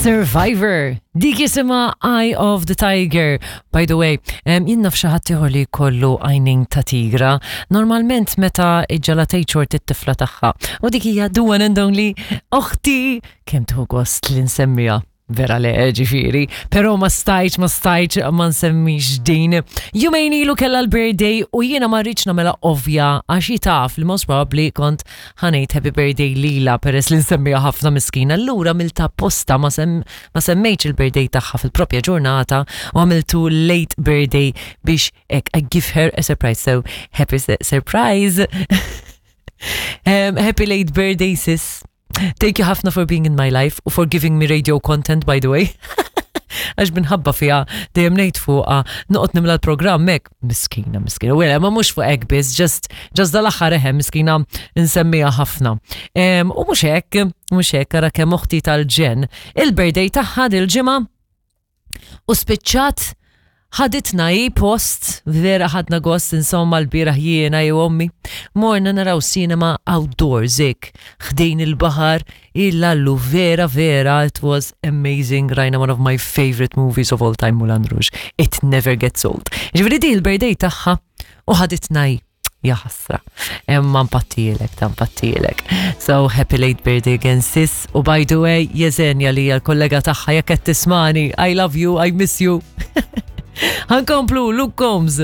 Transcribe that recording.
Survivor. Dik jisimha Eye of the Tiger. By the way, jien naf xi ħadd ieħor li jkollu għajnejn ta' tigra, normalment meta iġġalatej xort it-tifla tagħha. U dik hija the one and only oħti. Kemm tieħu gost li nsemmiha. Vera le, ġifieri. Però ma stajtx, ma stajtx ma nsemmix din. Jumejn ilu kellha l-birthday u jiena ma rridx nagħmilha ovvja għax hi taf li most probably kont ħa ngħid happy birthday lilha peress li nsemmiha ħafna miskina. Allura għamiltha apposta ma, sem, ma semmejtx il-birthday tagħha fil-propja ġurnata u għamiltu late birthday biex hekk I give her a surprise. So happy surprise. Happy late birthday sis. Thank you ħafna for being in my life u for giving me radio content by the way. Għax minħabba fija dejjem ngħid fuqha noqgħod nimla l-programm hekk. Miskina, miskina. Wela, ma mhux fuq hekk biss, just just dal-aħħar eħe miskina nsemmiha ħafna. U mhux hekk, mhux hekk ara kemm oħti tal-ġen. Il-birthday tagħha dil-ġimgħa u spiċċat ħaditna hi post, vera ħadna gost insomma l-bieraħ jiena jew ommi. Morna naraw cinema outdoors hekk, ħdejn il-baħar, illallu vera vera it was amazing, rajna one of my favorite movies of all time Moulin Rouge. It never gets old. Ġifieri di l-birthday tagħha u ħaditna hi. Ja ħasra. Imma mpattilek, ta' mpattilek. So happy late birthday again sis. U by the way, Jesenja li hija l-kollega tagħha jekk qed tismani, I love you, I miss you. Ħankomplu, Luke Combs.